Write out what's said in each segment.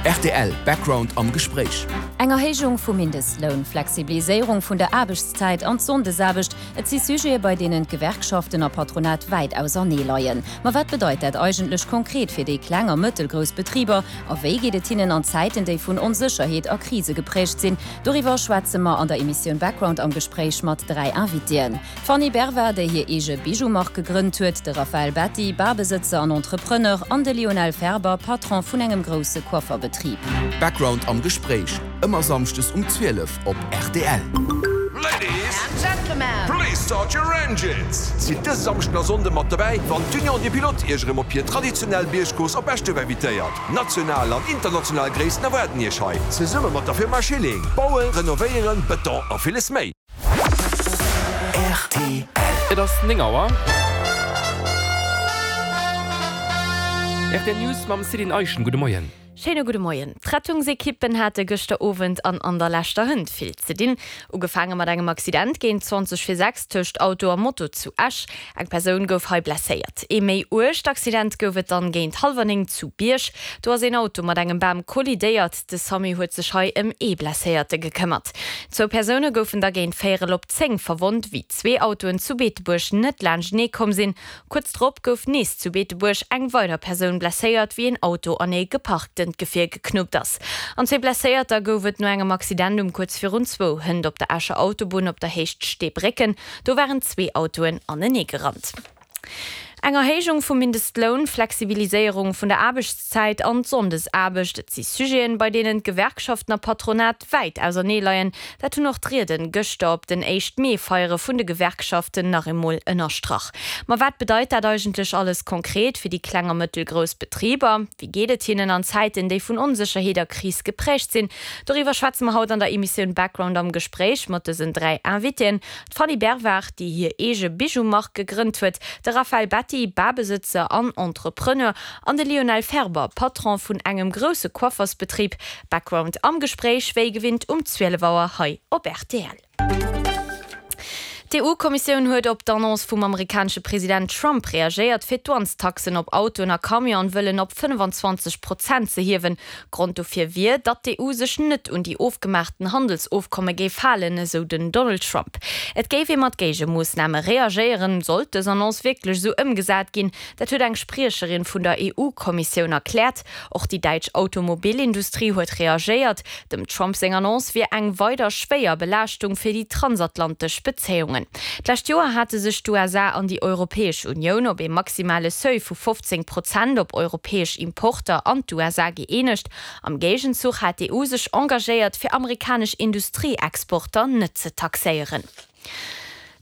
Rtl Background am Gespréich. Eng Erhéijung vum Mindestloun, Flexibiliséierung vun der Aarbechtszäit an d'Sonndesaarbecht, et si Sujete bei deenen d'Gewerkschaften a Patronat wäit ausernee leien. Ma wat bedeit dat eigentlech konkret fir déi kleng a mëttelgrouss Betriber a wéi geet et hinnen an Zäiten, déi vun Onsécherheet a Krise gepräägt sinn? Doriwwer schwätze mer an der Emissioun Background am Gespréich mat 3 Invitéen. D'Fanny Bervard, déi hir eege Bijou-Mark gegrënnt huet, de Raphaël Betti, Barbesëtzer an Entrepreneur, an de Lionel Ferber, Patron vun engem grousse Coifferbetrib. Background am Gespréich, ëmmer Samschdes um 12 op rtl. Ladies and Gentlemen, please start your engines! Sidd dëse Samschden a Sonnde mat dobäi, wann d'Union des Pilotes Iech erëm op hir traditionell Biergcourse op Eschduerf invitéiert. National an international Gréissten erwaarden Iech hei, zesumme mat der Firma Schilling. Bauen, renovéieren, Beton a villes méi. Rtl. Et ass 9 Auer. Rtl News mam Céline Eischen. Gudde Moien. Schéine gudde Moien. D'Rettungsekippen hate gëschter Owend an an der leschter Hënt vill ze dinn. Ugefaange mat engem Accident géint 20 vir 6 tëscht Auto a Moto zu Esch. Eng Persoun gouf hei blesséiert. Ee méi uergt Accident gouf et dann géint hallwer 9 zu Bierg. Do ass een Auto mat engem Bam kollidéiert. De Samu huet sech hei ëm ee Blesséierte gekëmmert. Zwou Persoune goufen da géint véierel op 10 verwonnt, wéi zwee Autoen zu Beetebuerg net laanschtenee komm sinn. Kuerz drop gouf nees zu Beetebuerg eng weider Persoun blesséiert, wéi een Auto an ee geparktent Gefier geknuppt ass. An zwee Blesséierter gouf et no engem Accident um kuerz virun zwou hënt op der Escher Autobunn op der Héicht Steebrécken. Do waren zwee Autoen anenee gerannt. Eng Erhéijung vum Mindestloun, Flexibiliséierung vun der Aarbechtszäit an d'Sonndesaarbecht, et si Sujeten, bei deenen d'Gewerkschaften a Patronat wäit ausernee leien. Dat hunn och d'Rieden gëschter op den éischt Mee-Feiere vun de Gewerkschaften nach eemol ënnerstrach. Ma wat bedeit dat eigentlech alles konkret fir déi kleng a mëttelgrouss Betriber? Wéi geet et hinnen an Zäiten, déi vun Onsécherheet a Kris gepräägt sinn? Doriwwer schwätze mer haut an der Emissioun Background am Gespréich mat dësen 3 Invitéen. D'Fanny Bervard, déi hir eege Bijou-Mark gegrënnt huet, de Raphaël Betti, Barbesëtzer an Entrepreneur, an de Lionel Ferber, Patron vun engem grousse Coiffersbetrib. Background am Gespréich, wéi gewinnt um 12 Auer hei op rtl. D'EU-Kommissioun huet op d'Annonce vum amerikanesche President Trump reagéiert, fir d'Douanestaxen op Autoen a Camionen wëllen op 25 Prozent ze hiewen. Grond dofir wier, datt d'EU sech net un déi ofgemaachten Handelsofkomme géif halen, esou den Donald Trump. Et géif ee mat Géigemoossname reagéieren, sollt dës Annonce wierklech esou ëmgesat ginn. Dat huet eng Spriecherin vun der EU-Kommissioun erkläert. Och déi däitsch Automobilindustrie huet reagéiert. Dem Trump seng Annonce wier eng weider schwéier Belaaschtung fir déi transatlantesch Bezéiungen. D'lescht Joer hate sech d'USA an déi Europäesch Unioun op ee maximale Seuil vu 15 Prozent op europäesch Importer an d'USA gëeenegt. Am Géigenzuch hat d'EU sech engagéiert, fir amerikanesch Industrieexporter net ze taxéieren.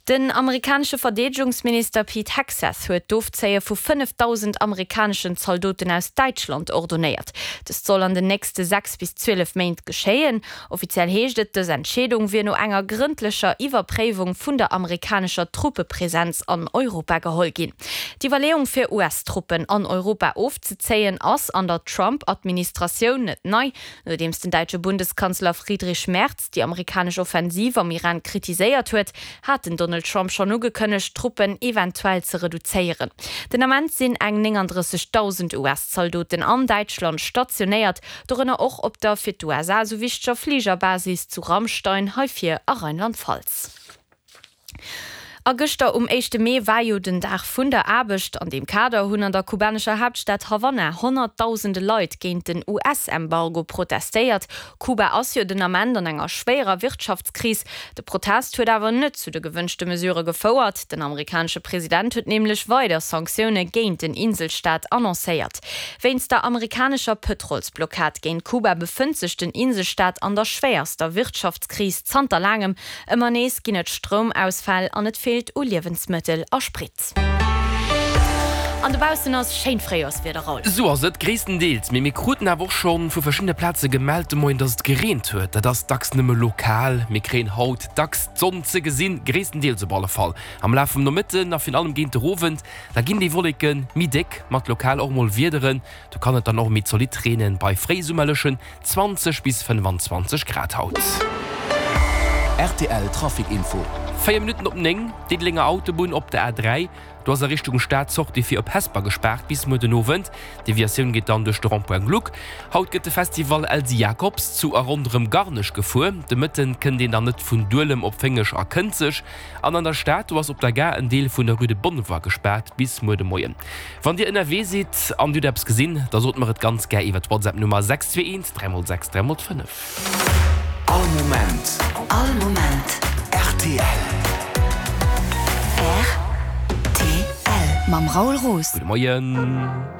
Den amerikanesche Verdeedegungsminister Pete Hegseth huet d'Ofzéie vu 5.000 amerikaneschen Zaldoten aus Däitschland ordonéiert. Dëst soll an den nächste 6 bis 12 Méint geschéien. Offiziell heescht et, dës Entscheedung wier no enger grëndlecher Iwwerpréiwung vun der amerikanescher Truppepresenz an Europa geholl ginn. D'Iwwerleeung fir US-Truppen an Europa ofzezéien ass an der Trump-Administratioun net nei. Nodeems den däitsche Bundeskanzler Friedrich Merz déi amerikanesch Offensiv am Iran kritiséiert huet, hat den Donald Trump schonn ugekënnegt, d'Truppen eventuell ze reduzéieren. Den Ament sinn eng 39.000 US-Zaldoten an Däitschland stationéiert, dorënner och op der fir d'USA esou wichteger Fligerbasis zu Ramstein, hei vir a Rheinland-Pfalz. A gëschter um éischte Mee war jo den Dag vun der Aarbecht. An deem Kader hunn an der kubanescher Haaptstad Havanna honnertdausende Leit géint den US-Embargo protestéiert. Kuba ass jo den Ament an enger schwéierer Wirtschaftskris. De Protest huet awer net zu de gewënschte Mesurë gefouert. Den amerikanesche President huet nämlech weider Sanktioune géint den Inselstaat annoncéiert. Wéinst der amerikanescher Pëtrolsblockad géint Kuba befënnt sech den Inselstaat an der schwéierster Wirtschaftskris zanter laangem. Ëmmer nees ginn et Stroumausfäll an et feelt u Liewensmëttel a Sprit. An dobaussen ass schéint Fréijorswieder, Raoul. Sou ass et gréisstendeels, mee mir kruten awer och scho vu verschiddene Plaze gemellt de Moien, dass et gereent huet. Dat ass dacks nëmme lokal. Mir kréien haut dacks d'Sonn ze gesinn, gréisstendeels op alle Fall. Am Laf vum Nomëtten a virun allem géint de Owend, da ginn déi Wolleke méi déck, mat lokal och mol Wiederen. Do kann et dann och méi zolidd reenen, bei fréisummerlechen 20 bis 25 Grad haut. Rtl Trafic Info. 4 Minutten op 9, Diddelenger Autobunn op der A3, do ass a Richtung Stad d'Sortie fir op Hesper gespaart bis muer den Owend. D'Deviatioun geet dann duerch de Rond-point Gluck. Haut gëtt de Festival Elsy Jacobs zu a ronderëm Garnech gefuer. De Mëtten kënnt een dann net vun Duelem op Féngeg a Kënzeg. An an der Stad, do ass op der Gare en Deel vun der Rue de Bonnevoie gespaart bis muer de Moien. Wann Dir ënnerwee sidd an Dir hutt eppes gesinn, da sot mer et ganz gär iwwer d'WhatsApp-Nummer 621 3 x 6 3 x 5. All Moment. All Moment. Rtl. Rtl. Mam Raoul Roos. Gudde Moien.